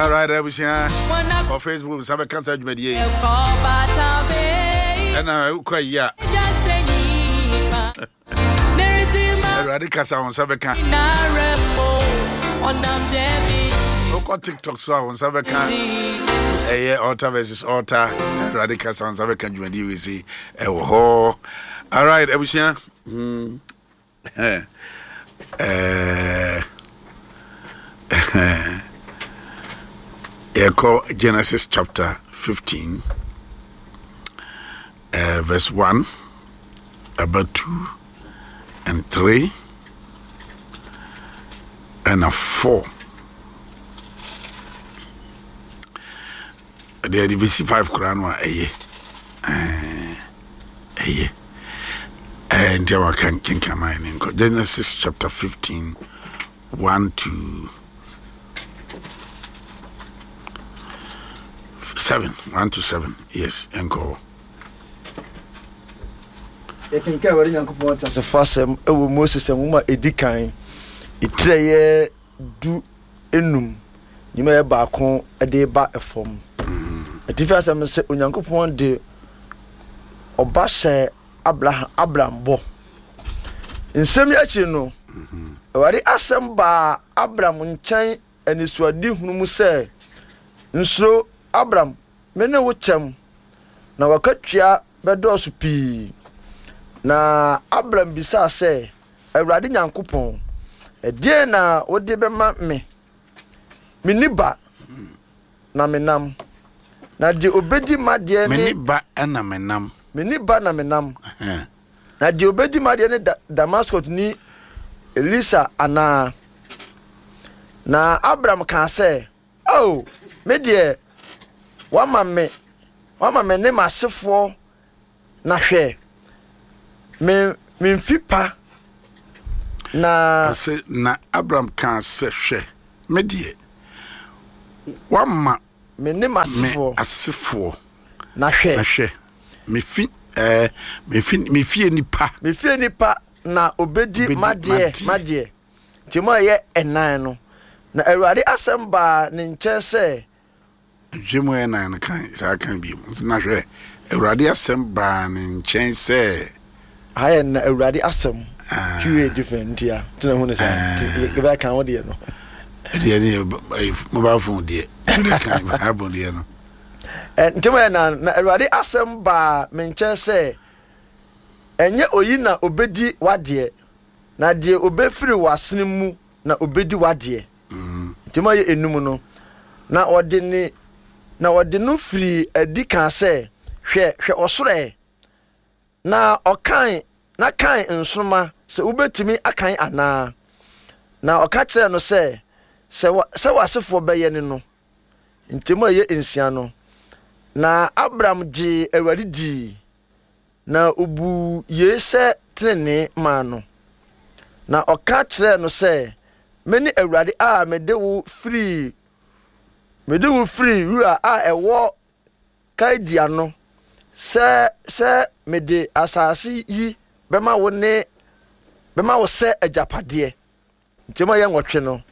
Alright, abusua wɔ Facebook nsa bɛka saa dwumadie yi ɛna wokɔ ayi a Awurade kasa wo nsa bɛka. Wokɔ TikTok so a wo nsa bɛka ɛyɛ altar versus altar. Awurade kasa wo nsa bɛka dwumadie wei sei ɛwɔ hɔ. Alright, abusua. Yɛkɔ Genesis chapter 15 verse 1 about 2 and 3 and 4. Deɛ yɛde bɛsi 5 koraa no a ɛyɛ ɛyɛ nti a waka kenkan ne nkɔ Genesis chapter 15 1 to 7 1 to 7 yes ɛnkɔ hɔ. Yɛkenkan Awurade Nyankopɔn ateasefo asɛm wɔ Moses nwoma a edi kan, etire a ɛyɛ du-enum, nnwuma a ɛyɛ baako de reba fam. Atifi asɛm no sɛ Onyankopɔn de ɔba hyɛɛ Abraham, Abram bɔ. Nsɛm yi akyiri no, Awurade asɛm baa Abram nkyɛn anisoadehunu mu sɛ, Nsuro, Abram, me ne wo kyɛm, na w'akatua bɛdɔɔso pii. Na Abram bisaa sɛ, Awurade Nyankopɔn, ɛdeɛn na wode bɛma me? Menni ba, na menam, na deɛ ɔbɛdi m'adeɛ ne. Menni ba na menam. Menni ba na menam, na deɛ ɔbɛdi m'adeɛ ne Damaskotni Elisa anaa? Na Abram kaa sɛ, Ao, me deɛ, woama me, woama me ne m'asefoɔ Na hwɛ, me, me mfe pa, na. Ase na Abram kaa sɛ, Hwɛ, me deɛ, woama. Me ne m'asefoɔ. Me asefoɔ. Na hwɛ. Na hwɛ, me fi, ɛɛ, me fi, me fie nnipa. Me fie nnipa na obedi m'adeɛ, m'adeɛ. Nti mu a ɛyɛ ɛnan no, na Awurade asɛm baa ne nkyɛn sɛ. Nhwɛ mu ɛnan no kan saa kan bio. Na hwɛ, Awurade asɛm baa ne nkyɛn sɛ. Aha yɛ na Awurade asɛm. Twi yɛ different nti a nti na hu ne saa nti yɛbɛyɛ kan wo deɛ no. Ɛdeɛ ne yɛ mobile phone deɛ tu ne kan Bible deɛ no. Nti mo yɛ na na Awurade asɛm baa me nkyɛn sɛ, ɛnyɛ oyi na obedi w'adeɛ, na deɛ obefiri w'asene mu na obedi w'adeɛ. Nti mu a ɛyɛ enum no, na ɔde ne, na ɔde no firii adi kaa sɛ, Hwɛ, hwɛ ɔsoro ɛ, na ɔkan, na kan nsoromma, sɛ wobɛtumi akan anaa. Na ɔka kyerɛɛ no sɛ, Sɛ, sɛ w'asefoɔ bɛyɛ ne no. Nti mu a ɛyɛ nsia no, na Abram gyee Awurade dii, Na obuu yei sɛ tenenee maa no. Na ɔka kyerɛɛ no sɛ, Mene Awurade a mede wo firii mede wo firii wura a ɛwɔ Kaldea no, sɛ sɛ mede asase yi bɛma wo ne bɛma wo sɛ agyapadeɛ. Nkyɛmu a ɛyɛ nwɔtwe no,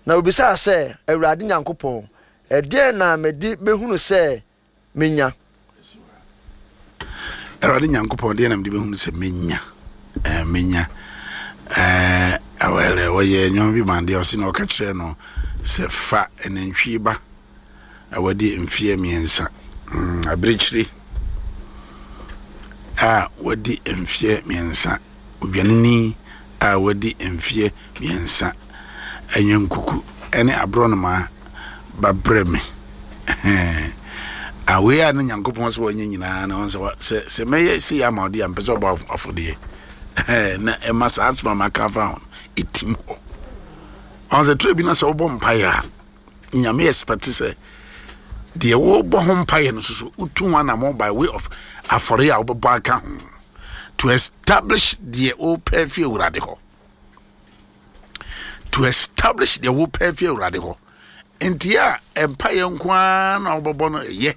na obisaa sɛ, Awurade Nyankopɔn, ɛdeɛn na mede bɛhunu sɛ menya. Awurade Nyankopɔn, deɛ na mede bɛhunu sɛ menya, eh, menya. Eh, well, eh, wɔyɛ nneɛma bi ma deɛ ɔse na ɔka kyerɛ no sɛ fa nantwie ba a wadi mfeɛ mmiɛnsa, abirekyire a wadi mfeɛ mmiɛnsa, odwanini a wadi mfeɛ mmiɛnsa, anyankuku ne aborɔnoma ba brɛ me. A wei a na Nyankopɔn sɛ wɔnyɛ nyinaa na wɔn sɛ sɛ sɛ mɛyɛ sei ama ɔde a mpɛ sɛ ɔbɔ afɔdeɛ na ɛma saa asɛm a maka afa ho no ɛtim hɔ. Ɔn sɛ twerɛ bi na sɛ wobɔ mpaeɛ a Nyame expect sɛ deɛ wobɔ ho mpaeɛ no soso wotu ho anammɔn by way of afɔre a wobɛbɔ aka ho to establish deɛ wopɛ fi Awurade hɔ. To establish deɛ wopɛ fi Awurade hɔ. Nti a mpaeɛ nko ara na wobɛbɔ no ɛyɛ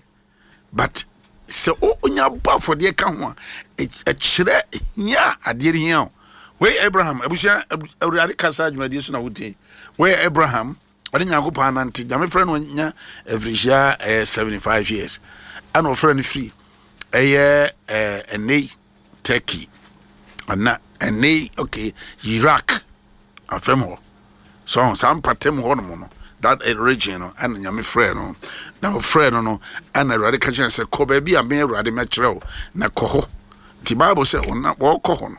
but sɛ wonya bɔ afɔdeɛ ka ho a ɛkyerɛ hia a adeɛ no hia o. Wei Abraham abusua Awurade kasa adwumadie so na wotie. Wei Abraham. Ɔne Nyankopɔn anante. Nyame frɛ no nya afirihyia ɛyɛ 75 years. Ɛna ɔfrɛ no firi ɛyɛ ɛɛ ɛnɛ Turkey ana ɛnɛ okay Iraq afɛm hɔ. So saa mpatam hɔ nom no that eh, region no ɛna Nyame frɛ no. Na ɔfrɛ no no ɛna Awurade ka kyerɛ sɛ kɔ baabi a me Awurade mɛkyerɛ wo na kɔ hɔ. Nti Bible sɛ wɔkɔ hɔ no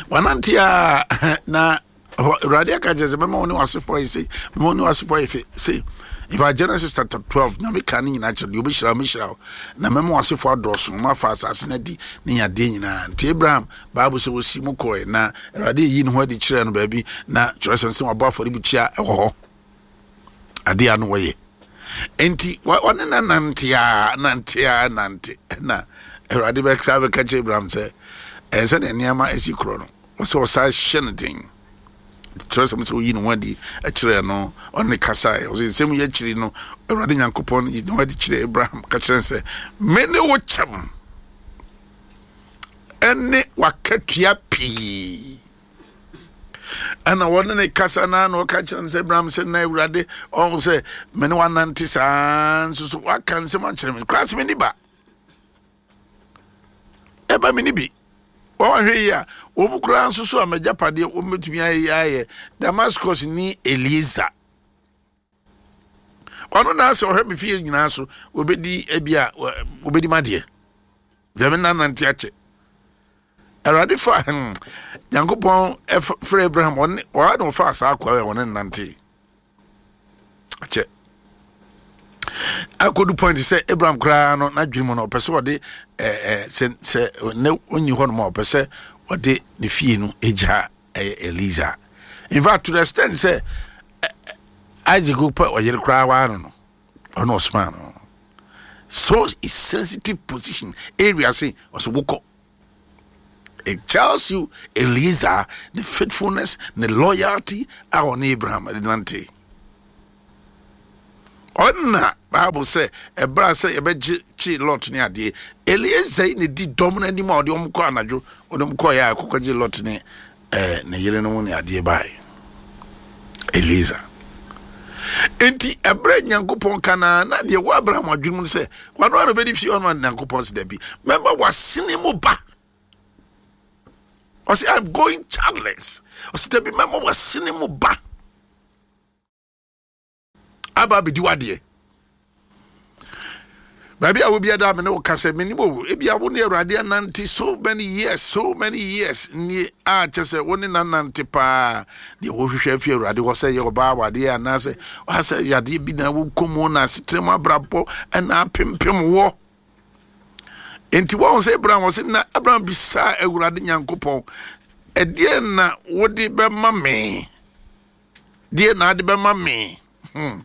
wanante a na Awurade aka kyerɛ sɛ mɛma wo ne w'asefoɔ ayɛ sei, mɛma wo ne w'asefoɔ ayɛ fɛ sei. In fact, Genesis chapter 12, Nyame ka ne nyinaa kyerɛ deɛ ɔbɛhyira wo, mɛhyira wo, na mɛma w'asefoɔ adɔɔso, ma afa asase no adi ne yadeɛ nyinaa. Nti Abraham, Bible sɛ wɔsi mu kɔɛ, na Awurade ayi ne ho adi kyerɛ no baabi, na kyerɛsɛm sɛ wabɔ afɔrebukyia wɔ hɔ. Adeɛ a no wɔyɛ. Nti wɔne na nante a, nante a, nante, na Awurade bɛka bɛka kyerɛ Abraham sɛ, ɛɛ sɛdeɛ nneɛma asi korɔ no, Ɔsɛ ɔsan hyɛ no den. Kyerɛwsɛm sɛ oyi ne ho adi kyerɛɛ no, ɔne no kasae. Ɔsɛ nsɛm yi akyiri no, Awurade Nyankopɔn yi ne ho adi kyerɛɛ Abraham ka kyerɛ no sɛ, Mene wo kyɛm ɛne w'akatua pii. Ɛna wɔne ne kasa na na ɔka kyerɛ no sɛ Abraham sɛ na Awurade ɔho sɛ mene wanante saa nso so waka nsɛm akyerɛ me koraa sɛ menni ba. Ɛba me ni bi. Wɔn ahwɛ yi a, wɔn koraa nso so a m'agyapadeɛ wɔn bɛtumi ayɛ ayɛ Damascus ni Eliezer. Ɔno na asɛ ɔhwɛ me fie nyinaa so, wɔbɛdi ebi a wɔbɛdi m'adeɛ. Deɛ me nanante akyɛ. Awurade fa hmm, Nyankopɔn frɛ Abraham, ɔne ɔa na ɔfa saa akoa a ɔne nante. Akyɛ. Akodu point sɛ Abraham koraa no n'adwene mu no ɔpɛ sɛ ɔde ɛɛ sɛ sɛ ne ɔnyi hɔ nom a ɔpɛ sɛ ɔde ne fie no egya ɛyɛ Eliza. In fact to the extent sɛ Isaac pɛ ɔyere koraa waa no no ɔno ɔsoma no so is sensitive position area se ɔsɛ wokɔ. It tells you Eliezer ne faithfulness ne loyalty a ɔne Abraham de nante. Ɔna Bible sɛ ɛberɛ a sɛ yɛbɛgye kye Lot ne adeɛ Eliezer yi na di dɔm no anim a ɔde wɔn kɔ anadwo ɔde wɔn kɔɔ yɛ a ɛkɔkɔgye Lot ne ɛɛ ne yere no mu ne adeɛ baeɛ. Eliezer. Enti ɛberɛ Nyankopɔn ka na na deɛ wɔ Abraham adwene mu no sɛ wano ara bɛdi fie ɔno Nyankopɔn sɛ dabi mɛma wasene mu ba. Ɔsɛ I'm going childless. Ɔsɛ dabi mɛma wasene mu ba. Aba abɛdi w'adeɛ. Baabi a wobi ada me ne wo ka sɛ menim o ebi a wo ne Awurade anante so many years so many years nie a kyɛ sɛ wo ne nanante paa deɛ wohwehwɛ afi Awurade hɔ sɛ yɛ ɔbaa awadeɛ anaasɛ asɛ yadeɛ bi na wokɔ mu na asetena mu abrabɔ ɛna apempem wɔ nti wɔn sɛ Abraham wɔ sɛ na Abraham bisaa Awurade Nyankopɔn ɛdeɛ na wode bɛma me deɛ na ade bɛma me hmm.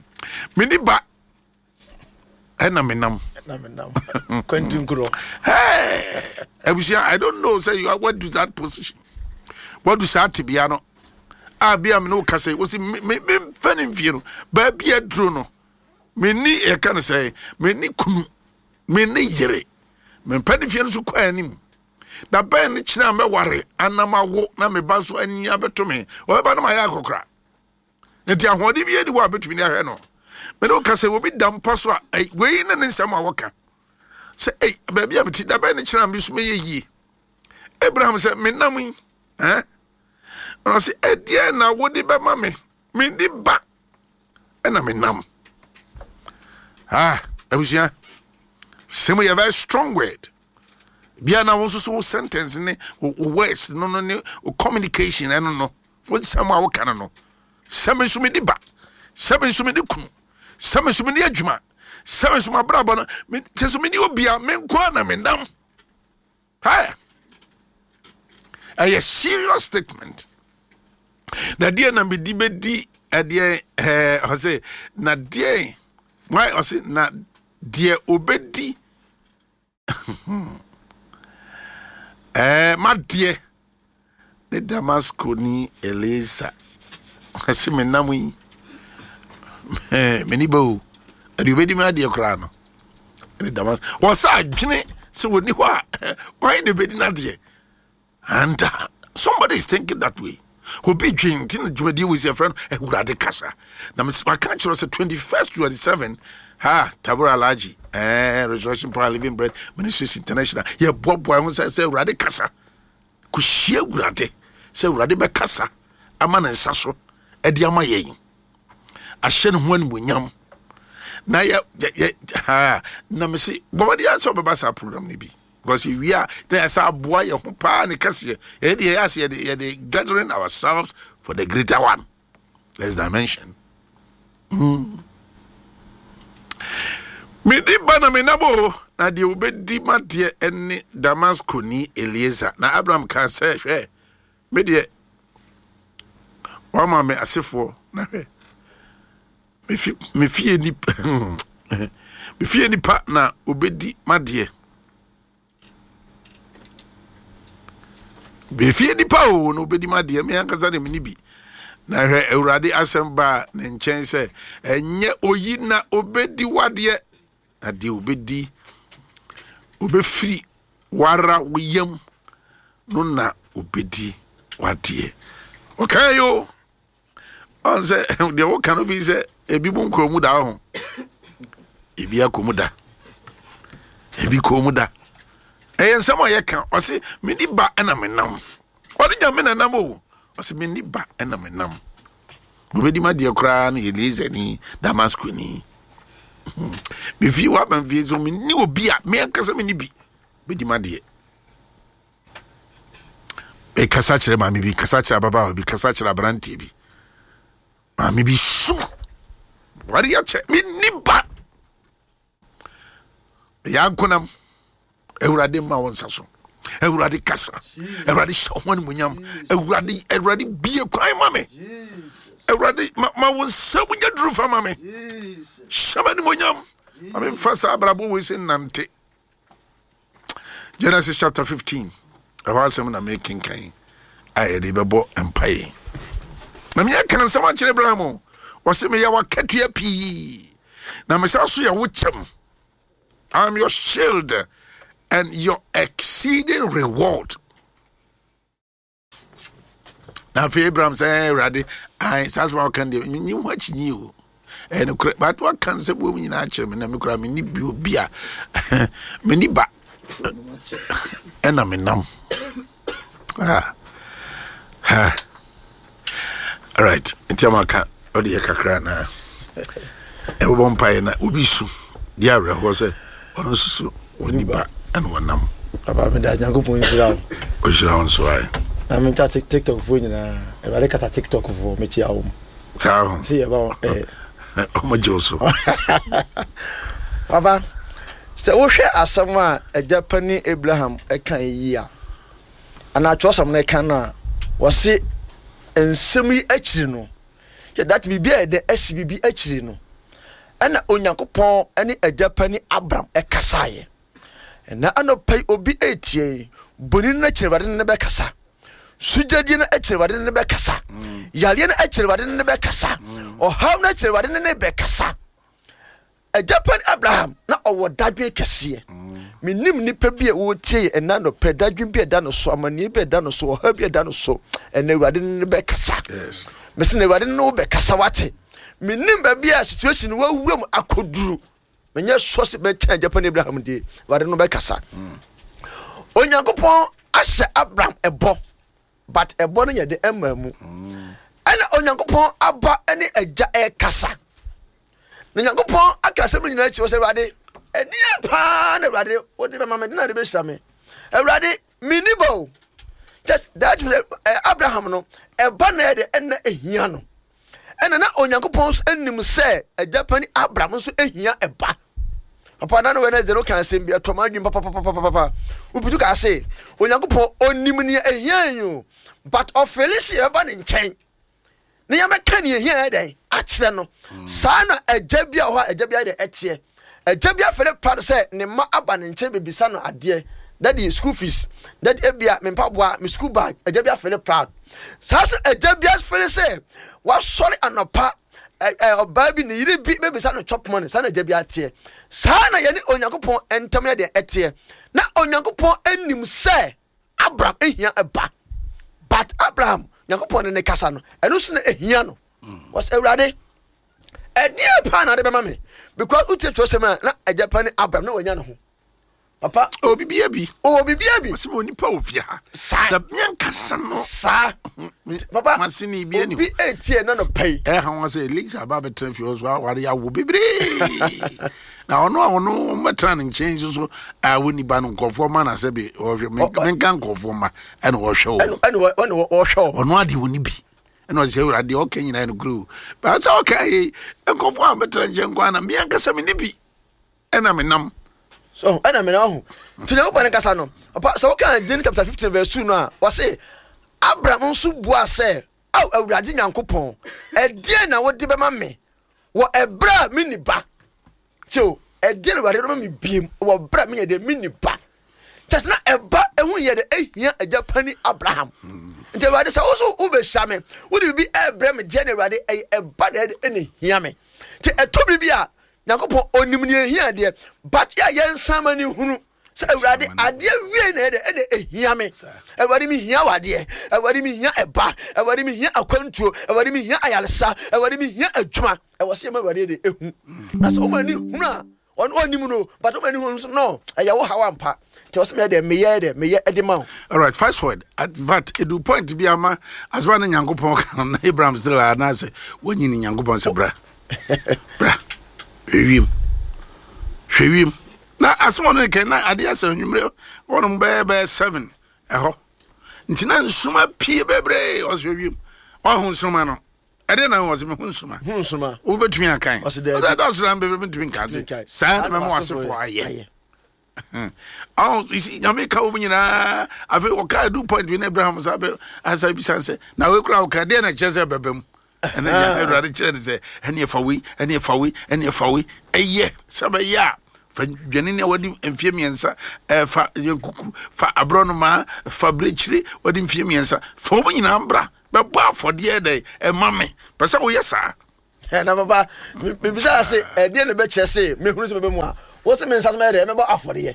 Meni ba ɛna menam abusua I don't know sɛ you are what do that position what do saa tebea no a bia me ne wo kasa yi wo se memfa ne mfie no baabi aduro no menni yɛka no sɛ menni kunu menni yere mempɛ ne fie no so kɔ anim Da bɛn ne kyena a mɛware anam awo na me ba nso anyi abɛto me? Ɔbɛba no mayɛ akɔkora. Nti ahoɔden bi ani hɔ a bɛtumi de ahwɛ no. Me ne wo ka sɛ obi da mpa so a, wei ne ne nsɛm a wɔka. Sɛ ei, baabi a mete da bɛn ne kyena a me nso mɛyɛ yie. Abraham sɛ menam yi, eh? Na ɔse ɛdeɛn na wode bɛma me? Menni ba ɛna menam. Ah, abusua, sɛm yɛ very strong word. Bia na wo nso so wo sentence ne wo words no no ne wo communication ɛno no wo nsɛm a woka no no sɛ me nso medi ba sɛ me nso medi kunu sɛ me nso medi adwuma sɛ me nso mabrabɔ no kyɛ sɛ meni obia me nko a na menam hɛ ɛyɛ serious statement na deɛ na medi bɛdi ɛdeɛ ɛɛ ɔsɛ na deɛ ɔsɛ na deɛ obɛdi Ɛɛ, m'adeɛ ne Damaskoni Elieser. Ɛse menam yi, m'ani ba o. Ɛde obɛdi me adeɛ koraa no. Ɛne Damas. Wɔsɛ adwene sɛ wɔni hɔ a, wɔn na ɛbɛdi n'adeɛ. And somebody is thinking that way. Obi dwen nti na dwumadie wɔ si ɛfrɛ no Awurade kasa. Na maka kyerɛ sɛ 21st 27 ha Tabora Alhaji eh, Resurrection Power Living Bread Ministries International yɛboaboa ho sɛ sɛ Awurade kasa kɔhyia Awurade sɛ Awurade bɛkasa ama ne nsa so ɛde ama yɛn ahyɛ ne ho animuonyam na yɛ yɛ ha na mese bɔmmɔden sɛ ɔbɛba saa program no bi. Because yɛwie a na yɛsɛ aboa yɛn ho paa ne kɛseɛ. Yɛde deɛ yɛyɛ ase yɛde yɛde gathering ourselves for the greater one. Next dimension. Mede ba na menam o, na deɛ obɛdi m'adeɛ ne Damaskoni Elieser. Na Abraham kaa sɛ, hwɛ, me deɛ, wama me asefoɔ, na hwɛ, me fie nipa me fie nipa na obedi m'adeɛ me fie nipa o na obedi m'adeɛ me ankasa de me ni bi na hwɛ awurade asɛm baa ne nkyɛn sɛ ɛnyɛ oyi na obedi w'adeɛ na deɛ obedi obefiri wara wo yam no na obedi w'adeɛ ɔkae o. Ɔn sɛ deɛ woka no fi sɛ ebi mu nkɔɔ mu da ho ebi akɔ mu da ebi kɔɔ mu da ɛyɛ nsɛm a yɛka ɔse meni ba ɛna menam ɔne nyame na nam o ɔse meni ba ɛna menam obɛdi ma deɛ koraa no yɛ Eliezer ni Damasco ni mefie waba mfie so menni obi a me ankasa menni bi bɛdi ma deɛ Mekasa kyerɛ maame bi, kasa kyerɛ ababaawa bi, kasa kyerɛ aberanteɛ bi. Maame bi su. Ware akyɛ, menni ba. Meyɛ ankonam. Awurade ma wo nsa so. Awurade kasa. Awurade hyɛ ho animuonyam. Awurade, Awurade bie kwan ma me. Awurade ma, ma wo nsa mu nyɛ duru fa ma me. Hyɛ m'animuonyam. Ma memfa saa abrabɔ wei sɛ nnante. Genesis chapter 15 ɛhɔ asɛm na mekenkan a yɛde bɛbɔ mpae na meyɛ ka nsɛm akyerɛ Abraham o ɔse meyɛ wakatua pii na mesa so yɛ wo kyɛm. I am your shield and your exceeding reward. Na afei Abraham sɛ Awurade ae saa asɛm a wɔka deɛ menyi ho akyinyi o ɛyɛ nokorɛ but waka nsɛm wɔ mu nyinaa kyerɛ me na me koraa menni bi obi a menni ba ɛna menam ah. ha alright nti ama ka ɔde yɛ kakra na ɛbɛbɔ mpaeɛ na obi su di awerɛhoɔ sɛ ɔno nso so wɔnni ba ɛna wɔnam. Papa meda Nyankopɔn nhyira wo. Ɔhyira wo nso ae. Na menkyia TikTok foɔ nyinaa. Awurade kasa TikTok foɔ mekyia wɔn. Saa ho. Sɛ yɛba wɔn ɛɛ. Ɔmo gye wo so. Papa sɛ wohwɛ asɛm a agya panin Abraham ɛka yi a anaa atwerɛsɛm no ɛka no a wɔse nsɛm yi akyiri no yɛ that biribi a ɛdɛ asi biribi akyiri no ɛna Onyankopɔn ne agya panin Abram ɛkasaeɛ. Ɛna anɔpa yi obi ɛretie yi, boni no akyiri Awurade ne no bɛkasa. Sugyadie no akyiri Awurade ne no bɛkasa. Yareɛ no akyiri Awurade ne no bɛkasa. Ɔhaw no akyiri Awurade ne no bɛkasa. Agya panin Abraham na ɔwɔ dadwen kɛseɛ. Menim nnipa bi a wɔretie yɛ ɛna anɔpa, dadwen bi a ɛda no so, amanneɛ bi a ɛda no so, ɔhaw bi a ɛda no so, ɛna Awurade ne no bɛkasa. Mese na Awurade ne wo bɛkasa wate. Menim baabi a situation no wawura mu akɔduru. Menyɛ sure sɛ bɛkyɛn agya panin Abraham deɛ, Awurade no bɛkasa. Onyankopɔn ahyɛ Abraham ɛbɔ, but ɛbɔ no yɛ de ɛmmaa mu. Ɛna Onyankopɔn aba ne agya ɛkasa. Na Nyankopɔn aka asɛm no nyinaa akyi wɔ sɛ Awurade, ɛdeɛ paa na Awurade wode bɛma me, de na de bɛhyira me. Awurade, menni ba o. Just that eh, Abraham no, ɛba na ɛde ɛna ehia no. Ɛna na Onyankopɔn nso anim sɛ agya pani Abraham nso ehia ɛba. Papa na no Wednesday no kan asɛm bi ɛtɔ m'adwene papapapapapa. Wobutu ka ase Onyankopɔn onim nea ehia yi o, but ɔfeeli sɛ yɛbɛba ne nkyɛn. na yɛbɛka nea ehia yɛ dɛn akyerɛ no. Saa na agya bi a ɔhɔ a agya bi ayɛ dɛn ɛteɛ. Agya bi afɛre pa no sɛ ne mma aba ne nkyɛn bebisa no adeɛ. Daddy, school fees. Daddy, ebia me mpaboa, me school bag. Agya bi afɛre proud. Saa nso agya bi afɛre sɛ wasɔre anɔpa ɔbaa bi ne yere bi bebisa no chop money. Saa na agya bi ateɛ. Saa na yɛne Onyankopɔn ntam yɛ deɛ ɛteɛ. Na Onyankopɔn anim sɛ Abraham ehia ɛba. But Abraham, Nyankopɔn ne ne kasa no, ɛno nso na ehia no. Wɔsɛ Awurade, ɛdeɛ paa na ade bɛma me because wotie twerɛsɛm a na agya pa ne Abraham na wanya ne ho. Papa. Ɔwɔ bibia bi. Ɔwɔ bibia bi. Ɔsɛ onipa wɔ fie ha. Saa. Da miankasa no. Saa. Papa. Masini bi ani. Obi etie na no pɛi. Ɛha wɔn sɛ Elisa ba bɛtena fie hɔ so aware awo bebree. Na ɔno a ɔno wɔbɛtena ne nkyɛn nso so a wɔnni ba no nkurɔfoɔ ma na sɛ bi ɔhwɛ menka nkurɔfoɔ ma ɛna ɔhwɛ wɔn. Ɛna ɔhwɛ wɔn. Ɔno adeɛ wɔnni bi. Ɛna ɔsɛ awurade deɛ ɔka nyinaa no kuro. Baasa ɔka yi nkurɔfoɔ a wɔbɛtena nkyɛn kwan na miankasa menni bi. ɛna menam. So ɛna menam ho. Nti Nyankopɔn ne kasa no. Papa sɛ woka Genesis chapter 15 verse 2 no a, wɔse Abraham nso buaa sɛ, Ao Awurade Nyankopɔn, ɛdeɛn na wode bɛma me wɔ ɛberɛ a menni ba? Kyɛ o, ɛdeɛn na Awurade bɛma me biem wɔ ɛberɛ a menyɛ deɛ menni ba? Kyɛ sɛ na ɛba ɛho yɛ de ɛhia agya pani Abraham. Nti Awurade sɛ wo so wobɛhyira me, wode biribi ɛrebrɛ me deɛ na Awurade ɛyɛ ɛba na ɛde ɛna me. Nti ɛtɔ biribi a Nyankopɔn onim nea ehia deɛ, but yɛ a yɛnsan ma ne hunu sɛ Awurade adeɛ wie na ɛde ɛde ehia me. Awurade me hia wadeɛ, Awurade me hia ɛba, Awurade me hia akwantuo, Awurade me hia ayaresa, Awurade me hia adwuma. Ɛwɔ sɛ yɛma Awurade de ehu. Na sɛ ɔma ani hunu a, ɔno ɔnim no, but ɔma ani hunu nso no, ɛyɛ wo haw ampa. Nti ɔsɛ meyɛ dɛ meyɛ dɛ meyɛ ɛde ma wo. Alright, fast forward. At but edu point bi ama asɛm a na Nyankopɔn ka no na Abraham still a anaasɛ wanyini Nyankopɔn sɛ bra. Bra hwɛ wiem. Hwɛ wiem. Na asɛm ɔno ne kɛn na adeɛ asɛ anwummerɛ wɔnom bɛyɛ bɛyɛ seven ɛhɔ. Nti na nsoma pie bebree ɔsɛ hwɛ wiem. Ɔho nsoma no. Ɛdeɛ na ɔsɛ mehu nsoma. Hu nsoma. Wobɛtumi akan. Ɔsɛ daabi. Ɔsɛ dɔɔso na bebree mentumi nka ase. Saa na mɛma w'asefoɔ ayɛ. Oh, you see, nyame ka wɔn nyinaa afei ɔka adu point bi na Abraham sa bɛ asa bisa sɛ na wei kura ɔka deɛ na kyerɛ sɛ bɛbɛ mu ɛna nyame awurade kyerɛ ne sɛ ɛne ɛfa wei ɛne ɛfa wei ɛne ɛfa wei ɛyɛ sɛ bɛyɛ a fa dwanini a wadi mfeɛ mmiɛnsa ɛfa yɛnkuku fa aborɔnomaa fa birekyire wadi mfeɛ mmiɛnsa fa wɔn nyinaa mbra bɛbɔ afɔdeɛ dɛ ɛma me pɛ sɛ woyɛ saa Na papa, mebisa se, ɛdeɛ na ɛbɛkyerɛ se mehunu sɛ mɛbɛ mu a, wo se me nsa so mɛyɛ dɛ, mɛbɔ afɔdeɛ.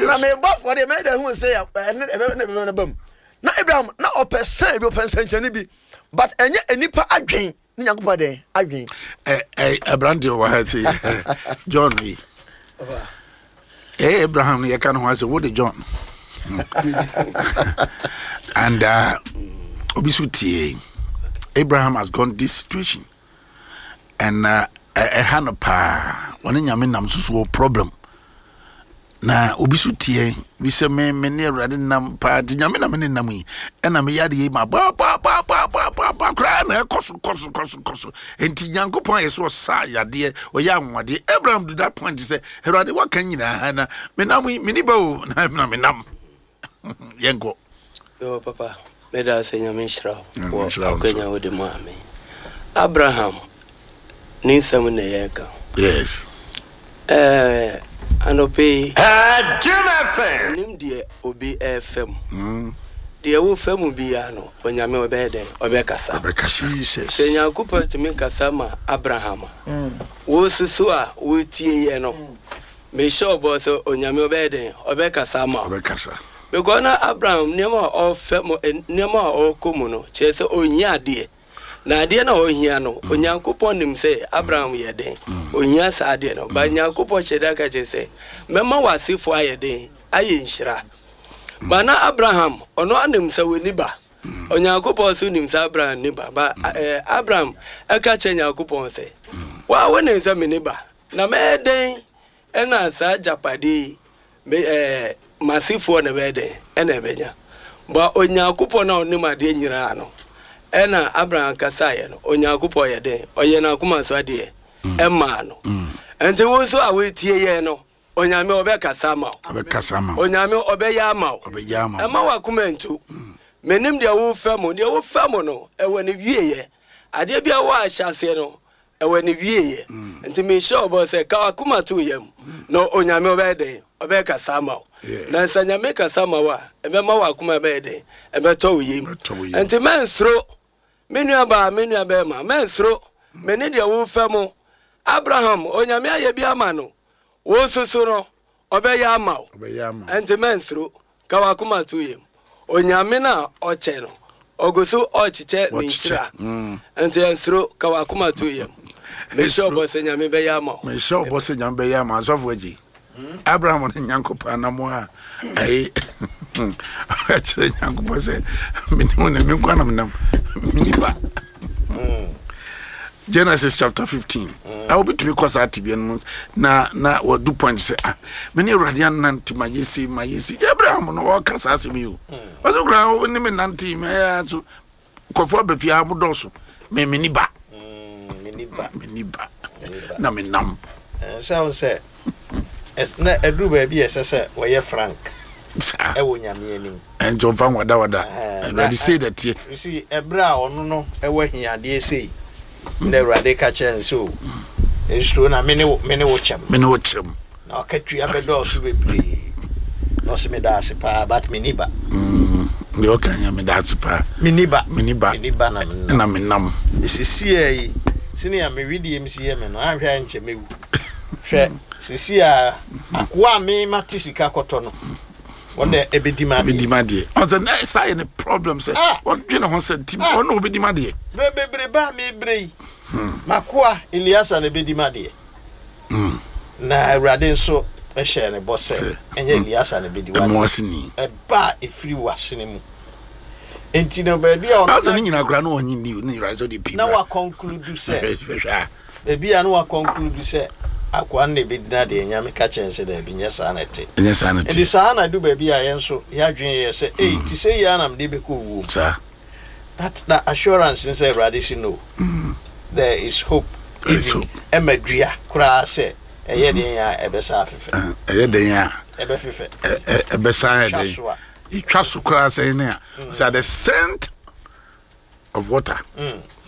Na mebɔ afɔdeɛ, mɛyɛ dɛ hu sɛ ɛne ɛbɛ na ɛbɛbɛ no ba mu. Na Abraham, na ɔpɛ sɛ bi, ɔpɛ nsɛnkyerɛnne bi, but ɛnyɛ nnipa adwen ne Nyankopɔn dɛn adwen. Ɛ ɛ aberanteɛ wɔ ha se John yi. Ɛyɛ Abraham no yɛka no ho asɛ wo de John. And uh, obi so tie. Abraham has gone this situation. And uh, ɛha no paa. Wɔne nyame nam so so wɔ problem. Na obi so tie bi sɛ me me ne awurade nam paa nti nyame na me ne nam yi ɛna meyɛ adeɛ yi ma baabaabaabaabaa koraa na ɛkɔ so kɔ so kɔ so kɔ so nti nyankopɔn ayɛ sɛ ɔsa yadeɛ ɔyɛ anwanwadeɛ Abraham to that point sɛ awurade waka nyinaa na menam yi meni ba o na na menam yɛnkɔ. Yo papa meda ase nyame nhyira wo wɔ akwanya wode maa me Abraham ne nsɛm na yɛreka. Yes. Ɛɛ anɔpɛ yi. Jim FM. Nim deɛ obi ɛɛfɛ mu. Mm. Deɛ wofɛ mu biara no onyame ɔbɛyɛ dɛn ɔbɛkasa. Ɔbɛkasa. Jesus. Sɛ Nyankopɔn tumi kasa ma Abraham a. Mm. Wo soso a wotie yɛ no. Mm. Mehyɛ wo bɔ sɛ Onyame ɔbɛyɛ dɛn? Ɔbɛkasa ama wo. Ɔbɛkasa. Because na Abraham nneɛma a ɔfɛ mu, nneɛma a ɔrekɔ mu no, kyerɛ sɛ ɔhia adeɛ. Na adeɛ no a ɔhia no, Onyankopɔn nim sɛ Abraham yɛ dɛn? Ɔhia saa adeɛ no. But Nyankopɔn hyɛ da ka kyerɛ sɛ, mɛma w'asefoɔ ayɛ dɛn? Ayɛ nhyira. But na Abraham, ɔno ara nim sɛ ɔnni ba. Onyankopɔn nso nim sɛ Abraham nni ba. But Abraham ɛka kyerɛ Nyankopɔn sɛ, wo a wonim sɛ menni ba. Na mɛyɛ dɛn na saa agyapadeɛ yi, me, ɛɛ, m'asefoɔ na ɛbɛyɛ dɛn na ɛbɛnya? Ba Onyankopɔn a ɔnim adeɛ nyinaa no, ɛna Abraham kasaeɛ no, Onyankopɔn yɛ dɛn? Ɔyɛ n'akoma so adeɛ ɛmaa no. Nti wo nso a woretie yɛn no, Onyame ɔbɛkasa ama wo. Ɔbɛkasa ama wo. Onyame ɔbɛyɛ ama wo. Ɔbɛyɛ ama wo. Ɛma w'akoma ntu. Menim deɛ wofa mu. Deɛ wofa mu no, ɛwɔ ne wieɛ. Adeɛ bi a wɔ ahyɛaseɛ no, Ɛwɔ ne wieɛ. Nti mehyɛ wo bɔ sɛ ka w'akoma to wo yam na Onyame ɔbɛyɛ dɛn? Ɔbɛkasa ama wo. Na sɛ Nyame kasa ma wo a, ɛbɛma w'akoma ɛbɛyɛ dɛn? Ɛbɛtɔ wo yam. Nti mɛnsuro, me nua baa, me nua bɛɛma, mɛnsuro, me ne deɛ wofɛ mo. Abraham, Onyame ayɛ bi ama no, wo nso so no, Ɔbɛyɛ ama wo. Ɛnti mɛnsuro. Ka w'akoma to yam. Onyame no a ɔkyɛ no, Ɔgu so ɔrekyekyɛ ne Wɔkyekyɛ. nhyira. Nti ɛnsuro, ka w'akoma to yam. Mehyɛ ɔbɔ sɛ Nyame bɛyɛ ama wo. Mehyɛ ɔbɔ sɛ Nyame bɛyɛ ama asɔfo agye. Abraham ne Nyankopɔn anamo a ayi kyerɛ Nyankopɔn sɛ mene wo na me nkwa na menam meni ba. Genesis chapter 15. A wobɛtumi kɔ saa tebea no mu na na wadu point sɛ ah mene Awurade anante ma yɛsi ma yɛsi. Abraham no ɔka saa asɛm yi o. Ɔsɛ koraa wo ne me nante mɛyɛ so nkurɔfoɔ aba fie ha mo dɔɔso me menni ba menni ba menni ba na menam sɛ wo sɛ na ɛduru baabi a ɛsɛ sɛ wɔyɛ frank saa ɛwɔ nyame anim ɛnti ɔmfa nwadawada awurade sei na ɛteɛ you see ɛberɛ a ɔno no ɛwɔ ahiadeɛ sei na awurade ka kyerɛ no sɛ o nsuro na mene wo mene wo kyɛm mene wo kyɛm Na ɔkatua bɛdɔɔso bebree. Na ɔse meda ase paa but menni ba. Mm, deɛ ɔka nyɛ meda ase paa. Menni ba. Menni ba. Menni ba na menam. Na menam. Sesiaa yi, sɛnea me wedeɛ mu si yɛ me no, anhwɛ a nkyɛ mɛwu. Hwɛ, sesiaa akoa a me mate sika kɔtɔ no, wɔn na ɛbɛdi m'adeɛ. Ɛbɛdi m'adeɛ. Ɔsɛ na saa yɛ ne problem sɛ ah! ɔdwene ho sɛ nti ah! ɔno na ɔbɛdi m'adeɛ. Berɛ bebrebe a mebrɛ yi, m'akoa Eliasa na ɛbɛdi m'adeɛ. Na Awurade nso hyɛɛ no bɔ sɛ, Ɛnyɛ Eleasa na ebedi w'ade, ɛba a efiri w'asene mu. Enti no, baabi a ɔno na. Ne nyinaa koraa na ɔnye nni ne nyinaa sɛ ɔde pii Na wakɔnkludu sɛ. Baabi a na wakɔnkludu sɛ akoa no na ebedi n'adeɛ, Nyame ka kyerɛɛ no sɛ, Daabi, nyɛ saa na ɛte. Ɛnyɛ saa na ɛte. Enti saa na edu baabi a yɛn nso yɛn adwene yɛ sɛ, Ei, te sɛ yi ara na mede bɛkɔ owuo mu. Saa. But na assurance ne sɛ Awurade se no, there is hope There is even hope. ɛma dua koraa sɛ ɛyɛ den a ɛbɛsa afefɛ. Ɛyɛ den a Ɛbɛfefɛ. ɛbɛsa ayɛ Twa den. so a. Etwa so koraa sɛ ne a sɛ at the scent of water.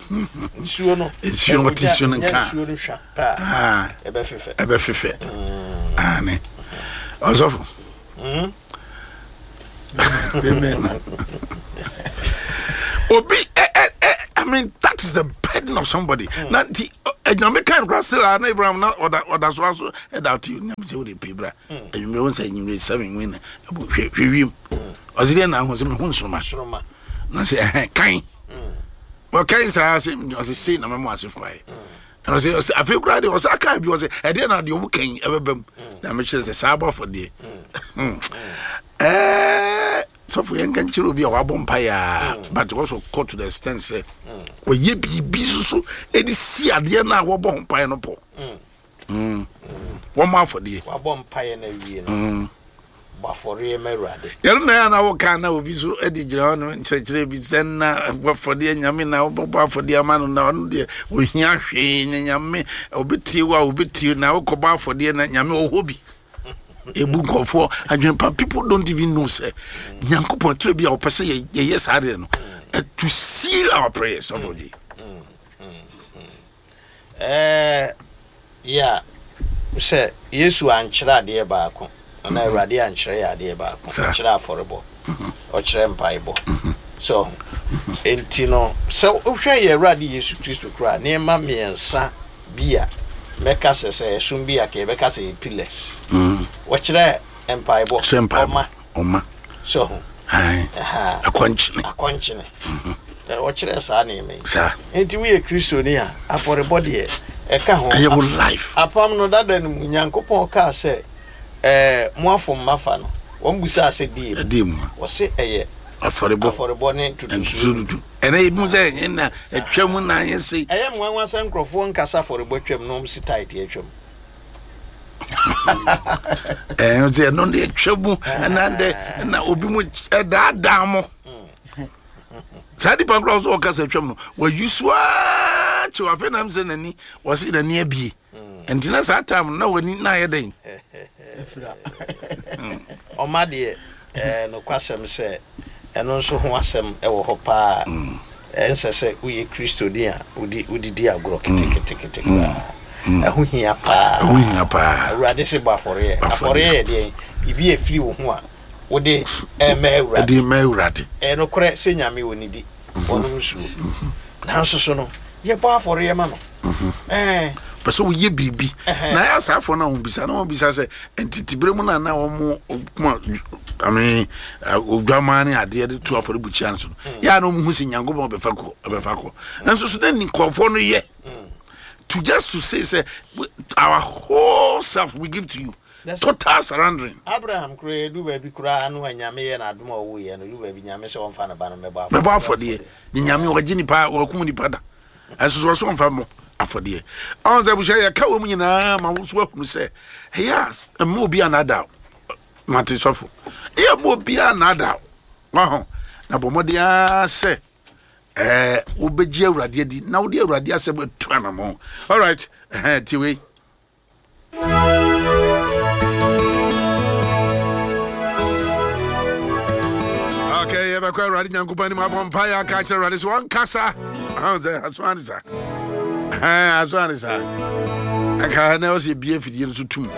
Nsuo no. Nsuo no, wɔte nsuo no nka. Nsuo no hwa paa. Ah. Ɛbɛfefɛ. Ɛbɛfefɛ. Aane. Ɔsɔfo. Amen. Obi, eh, eh, eh, I mean, that is the burden of somebody. Mm. Na nti, enyame kan kura still na Abraham na ɔda ɔda so aso ɛda ɔte nyame sɛ wode pii bra. Enyimire wo sɛ enyimire seven win na ɛbu hwɛ hwɛ wiem. Ɔsi deɛ na ahu sɛ mehu nsoroma. Nsoroma. Na sɛ ɛhɛn kan. Wɔkan saa sɛ ɔsɛ sei na mɛmo ase fo ayɛ. Na ɔsɛ ɔsɛ afei koraa deɛ ɔsɛ aka bi ɔsɛ ɛdeɛ na deɛ ɔmo kan ɛbɛba mu na mekyerɛ sɛ saa abɔ afɔdeɛ ɛɛ sɔfo yɛn nka nkyerɛ obi a wabɔ mpa yaa but also kɔ to the extent sɛ ɔyɛ biribi soso ɛde si adeɛ no a wɔbɔ ho mpaeɛ no pɔ wɔmmɔ afɔdeɛ wabɔ mpaeɛ no awie no Bɔ afɔreɛ ma Awurade. Yɛno na ɛyɛ a na woka na obi nso de gyina hɔ no nkyerɛkyerɛ bi sɛ na bɔ afɔdeɛ nyame na wobɛbɔ afɔdeɛ ama no na ɔno deɛ ohia hwee na nyame ɔbɛtie wo a ɔbɛtie na wokɔbɔ afɔdeɛ na nyame ɔwɔ bi ebu nkurɔfoɔ adwene pa people don't even know sɛ nyankopɔn twerɛ bi a ɔpɛ sɛ yɛyɛ saa deɛ no to seal our prayers ɔfɔ gye Ɛɛ, yeah, sɛ Yesu ankyerɛ adeɛ baako, anaa Awurade ankyerɛ yɛ adeɛ baako, ɔkyerɛ afɔrebɔ, ɔkyerɛ mpaebɔ. So ho? Enti no, sɛ wohwɛ yɛ Awurade Yesu Kristo koraa, nneɛma mmiɛnsa bi a mɛka sɛ sɛ ɛsom bi a, ka yɛbɛka sɛ yɛ pillars. Ɔkyerɛ mpaebɔ, ɔma. Ɔma. So ho? Ae. Aha. Akɔnkyene. Akɔnkyene. Na ɔkyerɛɛ saa nneɛma yi. Saa. Enti woyɛ Kristoni a, afɔrebɔ deɛ, ɛka ho. Ɛyɛ wo life. Apam no dada no mu, Nyankopɔn kaa sɛ, Ɛɛ, mo afom m'afa no. Wɔn bisaa sɛ, Deɛ mu? Ɛdeɛ mu? Ɔse, Ɛyɛ. Afɔrebɔ. Afɔrebɔ ne ntotosoɔ Ntotosoɔ du. dudu. Ɛnɛ yɛbimu sɛ ɛnyɛ na atwam na anyɛ sei. Ɛyɛ me nwanwa sɛ nkorɔfoɔ nka sɛ afɔrebɔ twam na wɔn se tithe atwam. Ɛɛ sɛ ɛno deɛ atwa mu ɛna dɛ ɛna obi mu ɛdaadaa mo. Saa nipa koraa ɔsɛ ɔka sɛ atwam no wayi so aa kyew afei nam sɛ n'ani wɔsi n'ani abie. Nti na saa time na w'ani na ayɛ dɛn? Ɔma deɛ ɛɛ nokwasɛm sɛ ɛno nso ho asɛm wɔ hɔ paa. Ɛnsɛ sɛ woyɛ Kristoni a wode wode di agorɔ keteketekete koraa. Ɛho hia paa. Ɛho hia paa. Awurade se bɔ afɔreɛ. Afɔreɛ yɛ deɛn? Biribi a ɛfiri wo ho a wode rema Awurade. Ɛde rema Awurade. Ɛyɛ nokorɛ sɛ Nyame ɔnnidi, ɔnnom nsuo. Nanso so no, yɛbɔ afɔreɛ ma no. Ɛɛ. Pɛ sɛ woyɛ biribi. Na ɛyɛ asaafoɔ no a wɔbisa na wɔbisa sɛ ntetebere mu no a na wɔn kuma ame odwamaa ne adeɛ de to afɔrebukyia no so no mm. yɛ a na wɔn hu sɛ Nyankopɔn bɛfa kɔ bɛfa kɔ. Nanso so na nkurɔfoɔ no yɛ mm. to just to say sɛ our whole self we give to you. Total surrendering. Abraham koraa edu baabi koraa no a Nyame yɛ no adom a ɔwuiɛ no, edu baabi Nyame sɛ ɔmfa ne ba no mmɛbɔ afɔdeɛ. Bɛbɔ afɔdeɛ. Ne Nyame ɔgye nipa, ɔkum nipa da. Ɛnso so ɔsɛ ɔmfa mmɔ afɔdeɛ. Ɔn sɛ abusua yɛka wɔn nyinaa ma wo nso ahunu sɛ ɛyɛ a mma obi anada mate sɔfo. Ɛyɛ mma obi anada waho na bɔ mmɔden ara sɛ ɛɛ wobɛgye Awurade adi na wode Awurade asɛm atu anamɔ. Alright, ɛhɛn tie wei. Okay, yɛbɛkɔ Awurade Nyankopɔn anim abɔ mpaeɛ aka akyerɛ Awurade sɛ ɔnkasa. Sɛ aso ane sa. Aso ane sa. Ɛka na ɔsɛ bie afidie no so tum.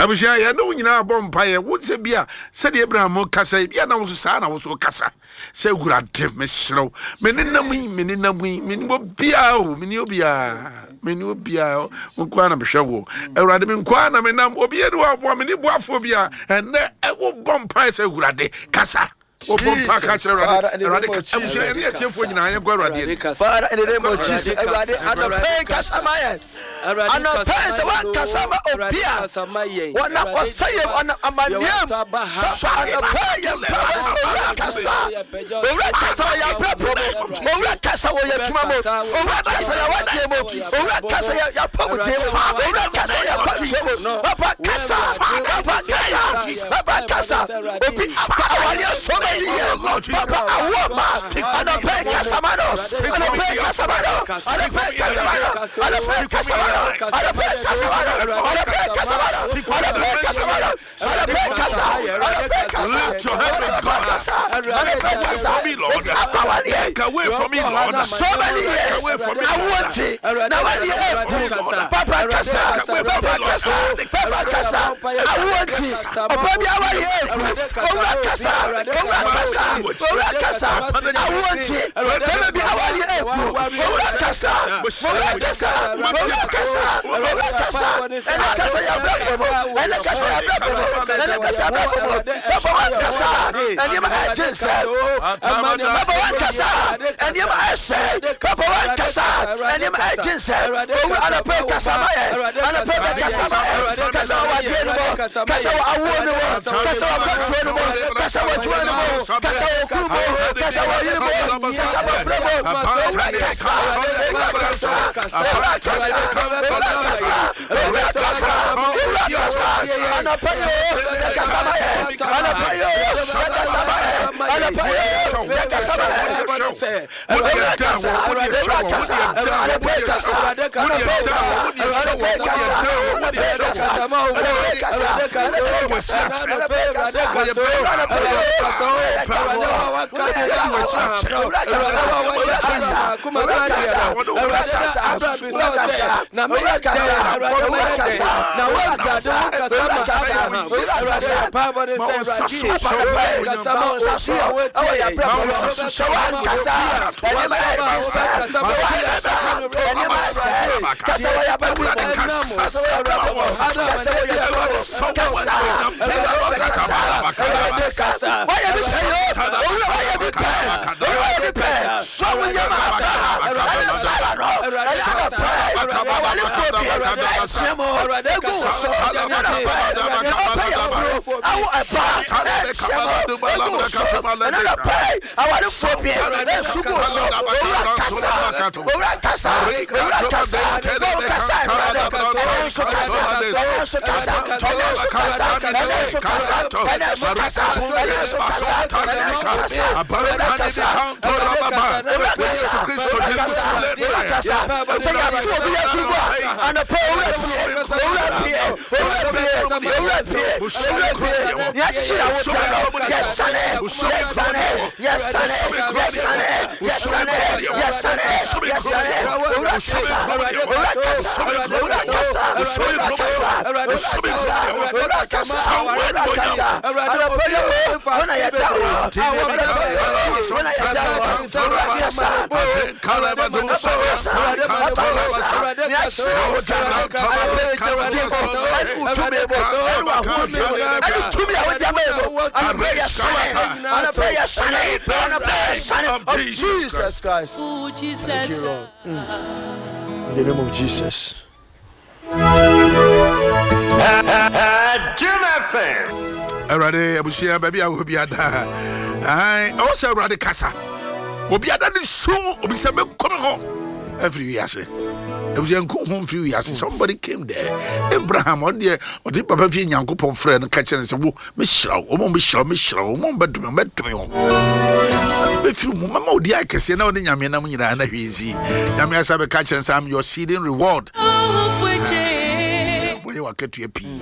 Abusua yɛne wo nyinaa bɔ mpaeɛ wo sɛ bi a sɛdeɛ Abraham kasa yi bi a na wo so saa na wo so kasa. Sɛ Awurade, mesrɛ wo, me ne nam yi, me ne nam yi, me ne obiara o, me ne obiara, me ne obiara, wo nko ara na mehwɛ wo. Awurade, me nko ara na menam, obiara ni hɔ aboa me, ne boafoɔ biara. Ɛnnɛ, ɛwo bɔ mpae sɛ Awurade, kasa. Wɔbɔ mpa ka kyerɛ Awurade, Awurade, abusua yɛne atiefoɔ nyinaa yɛnkɔ Awurade anim. Father, in the name of Jesus, Awurade, anɔpa yi kasa ma yɛn. Anɔpa yi sɛ woankasa ma obi a wɔnam ɔsɛeɛ mu, ɔnam amanneɛ mu. Papa, anɔpa yi yɛn mpaebɔ sɛ Owura kasa. Owura kasa wɔ yɛn abrabɔ mu. Owura kasa wɔ yɛn adwuma mu. Owura kasa yɛn awadeɛ mu. Owura kasa yɛn apɔmuden mu. Owura kasa yɛn akwantuo mu. Papa kasa. Papa kasa. Papa kasa. Obi akɔ awareɛ so ma yiyɛ. Papa awoɔ ma. Anɔpa yi kasa ma no. Anɔpa yi kasa ma no. Anɔpa yi kasa ma no. Lift your hand to God. Take away from me, Lord. Take away from me, Lord. So many years. Take away from me, I Lord. want it. Now when you Papa Kasa, Papa Kasa, Papa Kasa, I want it. Oba bi awari eku. Owura Kasa, Owura Kasa, Owura Kasa, I want it. Bɛrɛ bi awari eku. Owura Kasa, Owura Kasa, Owura Kasa, Owura Kasa. Ɛnɛ kasa yɛ abira bɔbɔ. Ɛnɛ kasa yɛ abira bɔbɔ. Ɛnɛ kasa yɛ abira bɔbɔ. Papa wa kasa. Ɛnneɛma ɛgye nsɛ. Papa wa kasa. Ɛnneɛma ɛsɛ. Papa wa kasa. Ɛnneɛma ɛgye nsɛ. Owura anɔpɛ kasa ma yɛ. Anɔpɛ bɛ kasa ma yɛ. Kasa wɔ adeɛ no mu. Kasa wɔ awoɔ no mu. Kasa wɔ akwantuo no mu. Kasa wɔ adwuma no mu. Kasa wɔ okunu mu. Kasa wɔ yere mu. Kasa wɔ afrɛ mu. Owura kasa. Owura kasa. Owura kasa. Owura kasa. Owura kasa. Owura kasa. Anɔpɛ yi o, yɛ kasa ma yɛ. Anɔpɛ yi o, yɛ kasa ma yɛ. Anɔpɛ yi o, yɛ kasa ma yɛ. Owura kasa. Owura kasa. Anɔpɛ yi kasa. Anɔpɛ yi kasa. Anɔpɛ yi kasa. Anɔpɛ yi kasa. Anɔpɛ yi kasa. Anɔpɛ yi kasa. Anɔpɛ yi kasa. Anɔpɛ yi o, yɛ kasa. Owura kasa. Owura kasa. Owura kasa. Owura kasa. Owura kasa. Owura kasa. Owura kasa. Owura kasa. Owura kasa. Owura kasa. Awo ɛba ɛkyɛ mo egu wo so ɛna na pɛɛ awarefoɔ bi ɛnso gu wo so owura kasa owura kasa owura kasa na wo kasa ɛnura no ɛnɛ nso kasa ɛnɛ nso kasa ɛnɛ nso kasa ɛnɛ nso kasa ɛnɛ nso kasa ɛnɛ nso kasa ɛnɛ nso kasa owura kasa owura kasa owura kasa owura kasa sɛ yɛato obi afiri mu a anɔpa owura pie owura pie owura pie owura pie owura pie nea akyekyere awotia no yɛsane yɛsane yɛsane yɛsane yɛsane yɛsane yɛsane owura kasa owura kasa owura kasa. Wo tumi kasa. Owura kasa. Owura kasa. Anɔpa yi o, wo na yɛda wo. Anɔpa yi o, wo na yɛda wo. Owura kasa. Papa kasa. Papa kasa. Nea ahyira wo da no, anɔpa yi gye wo din mu, ɛne wo tumi mu, ɛne w'ahoɔden mu, ɛne tumi a wode ama yɛn mu. Anɔpa yi yɛsane. Anɔpa yi yɛsane. Anɔpa yi yɛsane. Of Jesus Christ. Thank you, Lord. In the name of Jesus. Jim FM. Awurade abusua baabi a wɔ biada ɛwɔ sɛ Awurade kasa obiada ne su obi sɛ mɛkɔ me hɔ afiri wiase abusua nku ho mfiri wiase. Somebody came there, Abraham, ɔdeɛ ɔde papa fie Nyankopɔn frɛ no ka kyerɛ no sɛ wo mehyira wo, wɔn bɛhyira wo, mehyira wo, wɔn bɛdome wo, mɛdome wo, bɛfiri mu mɛma odi ayɛ kɛseɛ na ɔne Nyame nam nyinaa na hwee nsi. Nyame asa bɛka kyerɛ no sɛ I'm your seeding reward, wɔyɛ wakatua pii.